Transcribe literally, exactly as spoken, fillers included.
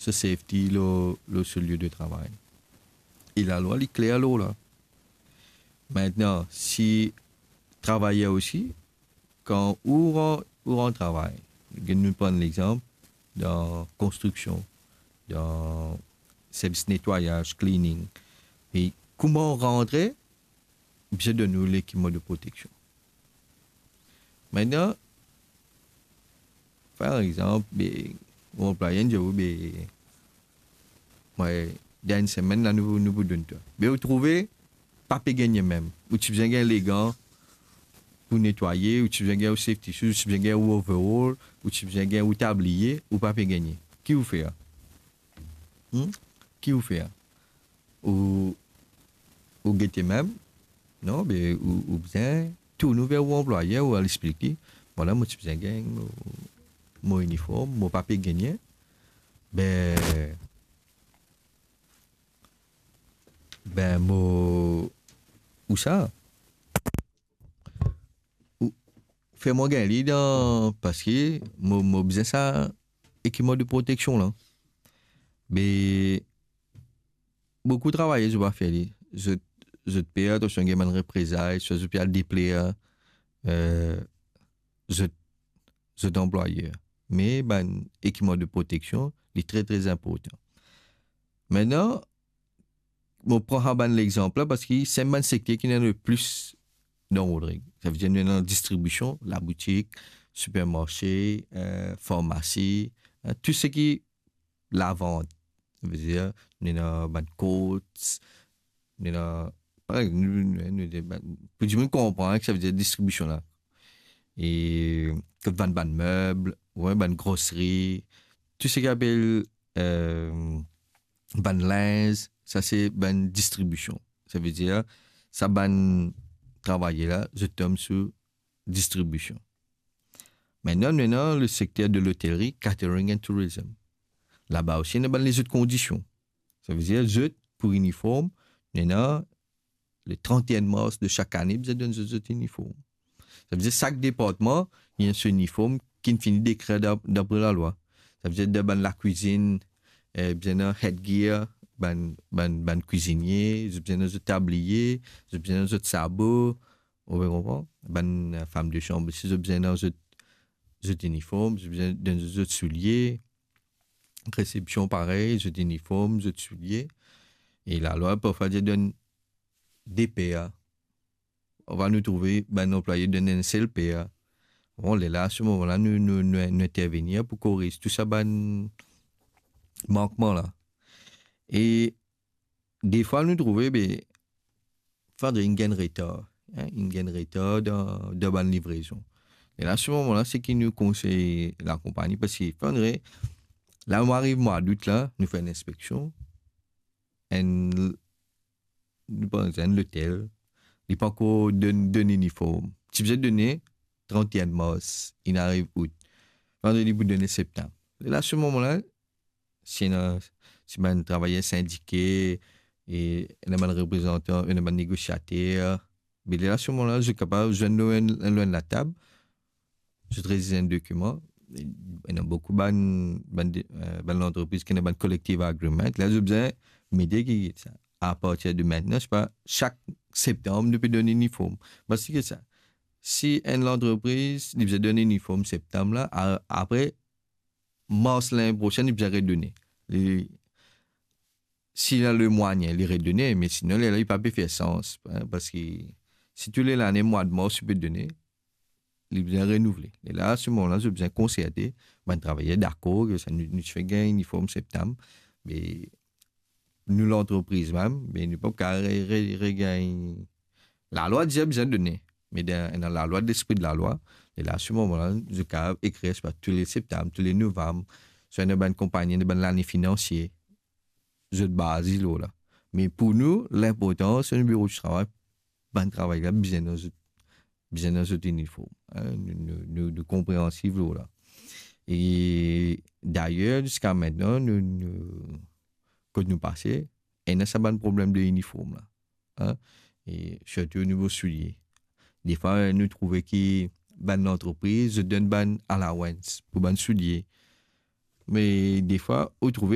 so safety lor, lor so lie de travay. E lalwa, li kler lor la. Aster, si travayer osi, kan ou ran-, ou rant travay, nou pran lexanp dan konstriksion, dan servis netwayaz, cleaning, e kouma ou rantre, bizin donn ou lekipman de proteksion. Aster, par exanp, be, ou anplwayer dir ou, be, mwa, dan enn semenn la, nou, nou pou donn twa. Be, ou trouve, pa pe gagne mem. Ou ti bizin gagn legan pou netwaye, ou ti bizin gagn ou safety shoes, ou ti bizin gagn ou overall, ou ti bizin gagn ou tabliye, ou pa pe gagne. Ki ou fer? Hmm? Ki ou fer? Ou, ou gete mem? Non, be, ou, ou bizin tourn ou ver ou anplwayer, ou al explik li, vwala, mo ti bizin gagn mo, mo iniform, mo pa pe gagne. Be, be, mo, ou sa, ou fer mwa gagn li dan, parski mo, mo bizin sa ekipman de proteksion la. Me boukou travayer, zot pa fer li. Zot, zot per, atansion, gagn bann reprezay, swa zot pe al depler, eh, zot, zot anplwayer. Me bann ekipman de proteksion, li tre, tre inportan. Aster, mo pran sa bann lexanp la parski se bann sekter ki ena le plis dan Rodrig. Savedir, nou ena distribision, laboutik, sipermarse, eh, farmasi, eh, tou seki lavant. Savedir, nou ena bann Courts, nou ena, par exanp, nou, nou, nou, nou, bann, pou dimoun konpran ki savedir distribision la. E kot vann bann meb, ou bann groseri, tou seki apel, eh, bann linz, sa se bann distribision. Savedir, sa bann travayer la, zot tom sou distribision. Aster, nou ena le sekter de lotelri, catering and tourism. Laba osi, ena bann lezot kondision. Savedir, zot, pou iniform, nou ena le trente et un mars de sak ane, bizin donn zot, zot iniform. Savedir, sak departman, li ena so iniform ki finn fini dekre da-, dapre lalwa. Savedir, dan bann lakwizinn, eh, bizin ena headgear, bann, bann, bann kwizinie, zot bizin ena zot tabliye, zot bizin ena zot sabo, ou pe konpran? Bann, eh, fam de sanm, si zot bizin ena zot, zot iniform, zot bizin donn zot, zot soulie, resepsion parey, zot iniform, zot soulie. E lalwa, parfwa, dir donn de per. Parfwa nou trouve bann anplwaye donn enn sel per. Bon, lerla, a se moman la, nou, nou, nou, nou intervenir pou koriz tou sa bann mankman la. E defwa, nou trouve, be, fode inn gagn retar, hein, inn gagn retar dan, dan bann livrezon. E la, a se moman la, seki nou konsey lakonpagni, parski fode, la, nou ariv mwa dout la, nou fer enn inspeksion, enn, nou pran enn lotel, li pankor donn, donn iniform. Ti bizin donn trant et un mars, inn ariv out. Fode li pou donn septam. E la, a se moman la, si ena, si bann travayer sindike, e ena bann reprezantan, ena bann negosiater, be la, a se moman la, zot kapav zwenn lor enn, lor enn latab, zot rediz enn dokiman. Ena boukou bann, bann de, eh, bann lantrepriz ki ena bann collective agreement. La, zot bizin mete ki sa, apartir de mintnan, se pa sak septam nou pe donn iniform. Parski sa, si enn lantrepriz, li bizin donn iniform septam la, a-, apre, mars lane prosenn, li bizin redone. Li, si li ena le mwayin, li redone, me sinon, lerla, li pa pe fer sans, hein, parski si tou le lane, mwa de mars, li pe done, li bizin renouvle. E la, a se moman la, zot bizin konserte, bann travayer dakor, ki sa, nou, nou ti fer gagn iniform septam, me nou lantrepriz mem, me nou pa kapav re-, re-, regagn. Lalwa dir bizin done, me dan, dan lalwa, lespri de lalwa, e la, a se moman la, zot kapav ekrir, se pa tou le septam, tou le novam, swa ena bann konpagni, ena bann lane finansie, zot baze lor la. Me pou nou, linportan, se nou biro di travay, bann travayer la bizin dan zot, bizin dan zot iniform, hein, nou, nou, nou, nou konpreansiv lor la. E dayer, ziska mintnan, nou, nou, kot nou pase, ena sa bann problem de iniform la, hein, e sirtou o nivo soulie. Defwa, nou trouve ki bann lantrepriz, zot donn bann allowance pou bann soulie. Me defwa, ou trouve